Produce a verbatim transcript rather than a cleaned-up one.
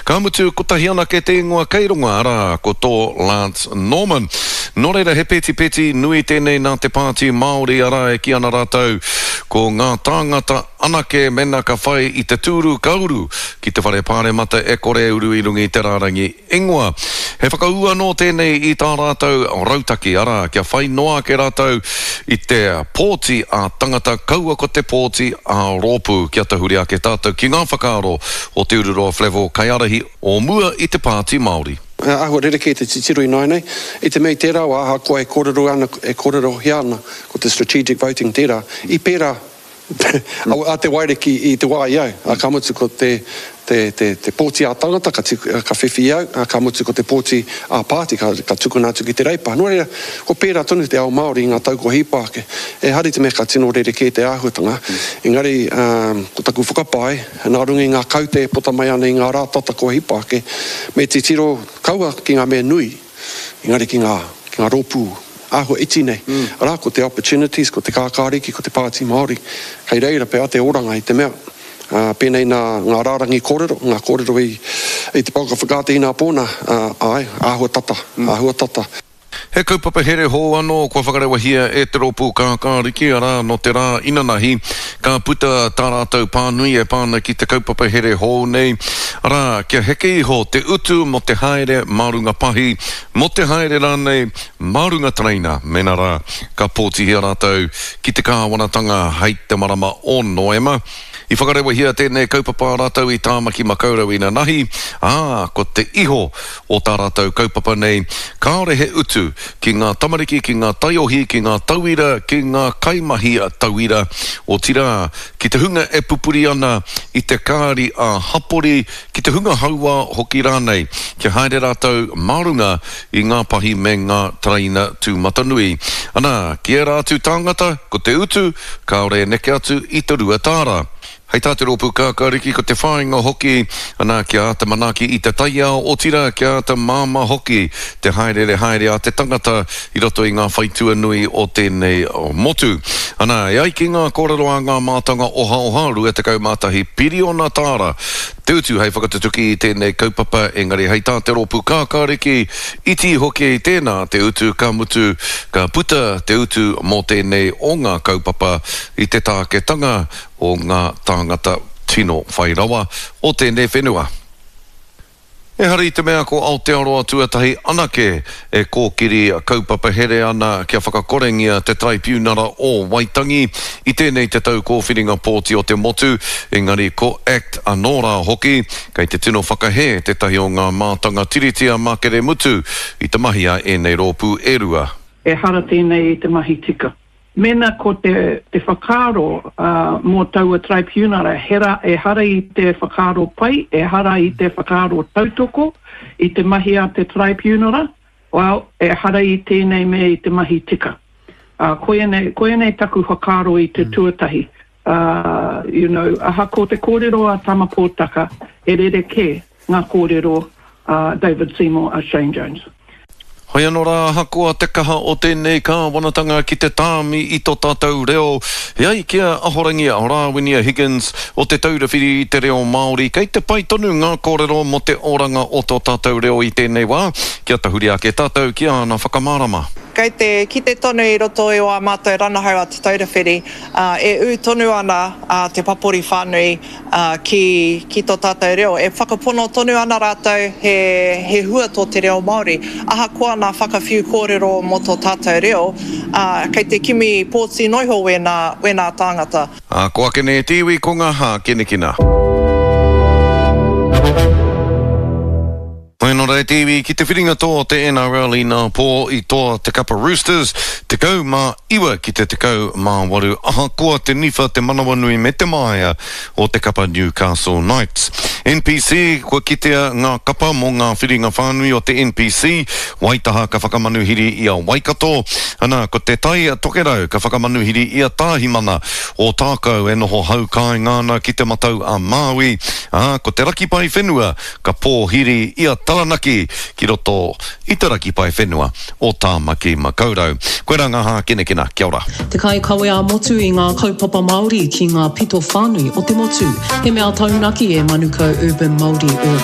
Ka mutu, kotahi anake te ingoa kei runga, arā, ko tō Lance Norman. Nō reira, he petipeti nui tēnei nā te Pāti Māori, arā, e kī ana rātou, ko ngā tāngata anake mēnā ka whai i te tūru ka uru ki te whare pāremata e kore e uru i runga i te rārangi ingoa. He whakaū anō tēnei i tā rātou rautaki, arā, kia whai noa ake rātou i te pōti ā-tangata kaua ko te pōti ā-rōpū. Kia tahuri ake tātou ki ngā whakaaro o Te Ururoa Flavell, kaiārahi o mua i te Pāti Māori. He āhua rerekē te titiro ināianei, i te mea i tērā wā ahakoa e kōrero ana, e kōrerohia ana ko te strategic voting tērā, i pērā a Te Wairiki i te wā i au, ā, ka mutu ko te, te, te, te pōti ā-tangata ka, ka whiwhi i au, ā, ka mutu ko te pōti ā-pāti ka, ka tukuna atu ki te Reipa. Nō reira, kua pērā tonu te ao Māori i ngā tau kua hipa ake. Ehara i te mea ka tino rerekē te āhuatanga, engari, ā, ko taku whakapae, nā runga i ngā kaute e puta mai ana i ngā rā tata kua hipa ake, me titiro kaua ki ngā mea nui, engari ki ngā, ki ngā rōpū āhua iti nei. Arā, ko te Opportunities, ko te Kākāriki, ko te Pāti Māori. Kei reira pea te oranga i te mea, ā, pēnei nā ngā rārangi kōrero, ngā kōrero i, i te pouaka whakaata inapō nā, ā, āe, āhua tata, āhua tata. He kaupapa here hou anō kua whakarewahia e te rōpū Kākāriki, arā, nō te rā inanahi ka puta tā rātou pānui e pā ana ki te kaupapa here hou nei, arā, kia heke iho te utu mō te haere mā runga pahi, mō te haere rānei mā runga tereina, mēnā rā ka pōtihia rātou ki te kāwanatanga hei te marama o Noema. I whakarewahia tēnei kaupapa a rātou i Tāmaki Makaurau inanahi, ā, ko te iho o tā rātou kaupapa nei, kāore he utu ki ngā tamariki, ki ngā taiohi, ki ngā tauira, ki ngā kaimahi tauira, otirā, ki te hunga e pupuri ana i te kāri ā-hapori, ki te hunga hauā hoki rānei, kia haere rātou mā runga i ngā pahi me ngā tereina tūmatanui. Ana, ki ērā atu tāngata, ko te utu, kāore e neke atu i te rua tāra. Hei tā te rōpū Kākāriki, ko te whāinga hoki, ana, kia āta manaaki i te taiao, otirā, kia āta māmā hoki te hāereere haere a te tangata i roto i ngā whaitua nui o tēnei motu. Ana, e ai ki ngā kōrero a ngā mātanga ohaoha, rua tekau mā tahi piriona tāra te utu hei whakatutuki i tēnei kaupapa, engari hei tā te rōpū Kākāriki, iti hoki tēnā te utu, ka mutu, ka puta te utu mō tēnei o ngā kaupapa i te tāketanga o ngā tāngata tino whai rawa o tēnei whenua. Ehara i te mea ko Aotearoa tuatahi anake e kōkiri kaupapa here ana kia whakakorengia te Taraipiunara o Waitangi i tēnei te tau kōwhiringa pōti o te motu, engari ko act anō rā hoki, kei te tino whakahē tētahi o ngā mātanga tiriti a Makere Mutu i te mahi a ēnei rōpū e rua. Ehara tēnei i te mahi tika. Mēnā ko te, te whakaaro mō taua Taraipiunara, hera, ehara i te whakaaro pai, ehara i te whakaaro tautoko i te mahi a te Taraipiunara, well, ehara i tēnei mea i te mahi tika. Uh, koianei, koianei taku whakaaro i te mm. tuatahi. Uh, you know, ahakoa te kōrero a Tama Pōtaka, he rerekē ngā kōrero a David Seymour, a Shane Jones. Hoi anō rā, ahakoa te kaha o tēnei kāwanatanga ki te tāmi i tō tātou reo, e ai ki a Ahorangi Rāwinia Higgins o Te Taura Whiri i te Reo Māori, kei te pai tonu ngā kōrero mō te oranga o tō tātou reo i tēnei wā, kia tahuri ake tātou ki āna whakamārama. Kei te kite tonu i roto i ā mātou ranahau a Te Taura Whiri, e ū tonu ana te papori whānui ki, ki tō tātou reo. E whakapono tonu ana rātou he, he hua tō te reo Māori. Ahakoa nā whakawhiu kōrero mō tō tātou reo, kei te kimi pōti noiho wēnā, wēnā tāngata. Ā, ko ake nei te iwi ko ngā hākinakina. Tēnā rā te iwi ki te whiringa toa o te N R L inā pō i toa te kapa Roosters, tekau mā iwa ki te tekau mā waru ahakoa te niwha, te manawanui me te māia o te kapa Newcastle Knights. N P C, kua kitea ngā kapa mō ngā whiringa whānui o te N P C, Waitaha ka whakamanuhiri i a Waikato, ana ko Te Tai Tokerau ka whakamanuhiri i a Tāhimana, Ōtākou e noho hau kāinga ana ki Te Matau a Māui, ā, ko Te Rakipaewhenua ka pōhiri i a Taranaki ki roto i te raki paewhenua o Tāmaki Makaurau. Koirā ngā hākinakina. Kia ora. Te kaikawe ā-motu i ngā kaupapa Māori ki ngā pito whānui o te motu. He mea taunaki e Manukau Urban Māori Ur.